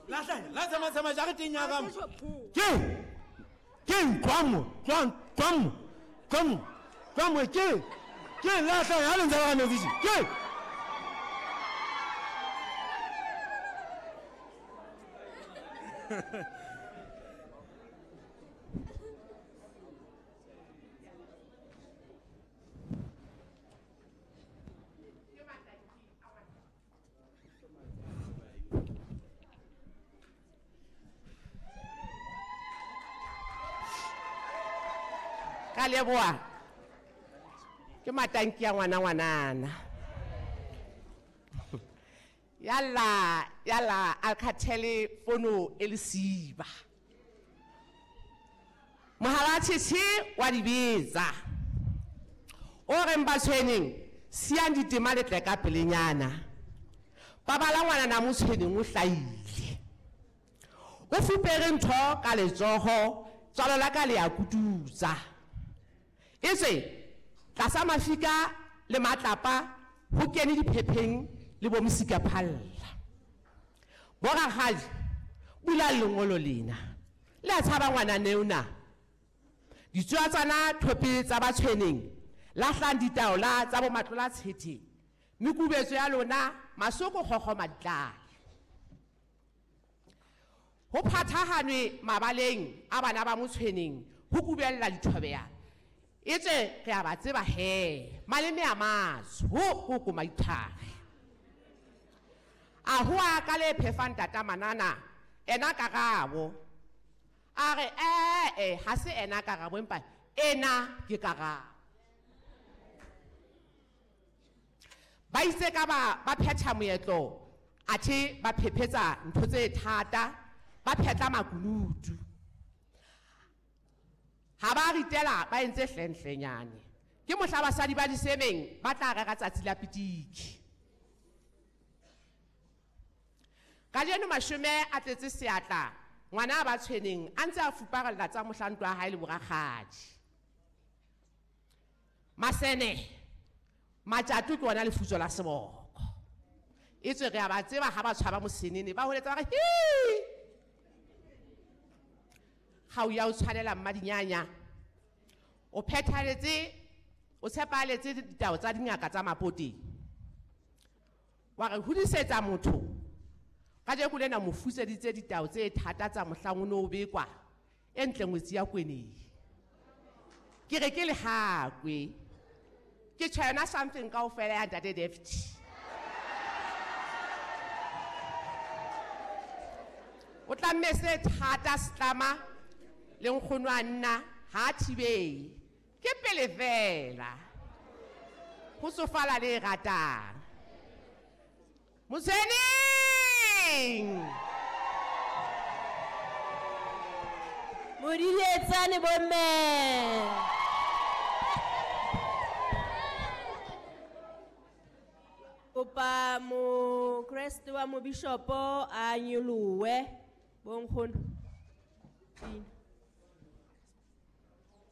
Lahlanya, la tsamaya jareteng ya ka mo. Ke ke kwamo, kwamo, kwamo, kwamo ke ke lahlanya ha le ntse ba metsi. Ke Ka leboha ke matanki ya ngwana ngwanana. Yalla yalla Alcatel fono e lesiba. Mohala tshitshi wa dibetsa. O reng ba tshweneng siyang ditema le tle ka pelenyana. Babala ngwana na mo tshweneng o hlaile. O fupere ntho ka letsoho tswalo la ka le ya kututsa. Etswe tlasa mafika le matlapa ho kene diphepheng le bo mosika phalla. Borakgadi bula lengolo lena. Le a tshaba ngwana neona. Ditsoa tsana thope tsa ba tshweneng lahlang ditaola tsa bo matlola tshete. Mekubetso ya lona masoko kgokgo maditlale. Ho phathahanwe mabaleng a bana ba motshweneng ho kubella dithobeya. Etswe re a ba tseba he maleme a matsho ho ko maithare. A ho a ka le phefang tata manana ena karabo. A re ha se ena karabo empa ena ke karabo. Ba itse ka ba phetha moetlo athe ba phephetsa ntho tse thata ba phetla makunutu. Ha ba ritela ba entse hlenhlenyane. Ke mohla basadi ba disemeng ba tla rera tsatsi la pitiki. Kajeno mashome a tletse seatla ngwana ba tshweneng a ntse a fuparella tsa mohlanto wa hae le borakgadi. Masene matjato ke ona lefutso la seboko. Etswe re a ba tseba ha ba tshwaba mosenene ba holetsa ba re hi. Ga o ya o tshwanela mmadinyanya. O phethaletse o tshepaletse ditao tsa dingaka tsa mapoteng. Wa re hodisetsa motho kajeko lena mo fuseditse ditao tse thata tsa mohlang o no o bekwa e ntle ngwetsi ya kweneng. Ke re ke lehakwe. Ke tjho yona something kaofela ya ntate David. O tlamme se thata setlama le nkgono a nna ha thibele. Ke pele fela. Ho tsofala le ratang. Motshweneng! Modiletsane bomme. Kopa mo Kreste wa mo bishopo a nyolowe bonkgono. Pina.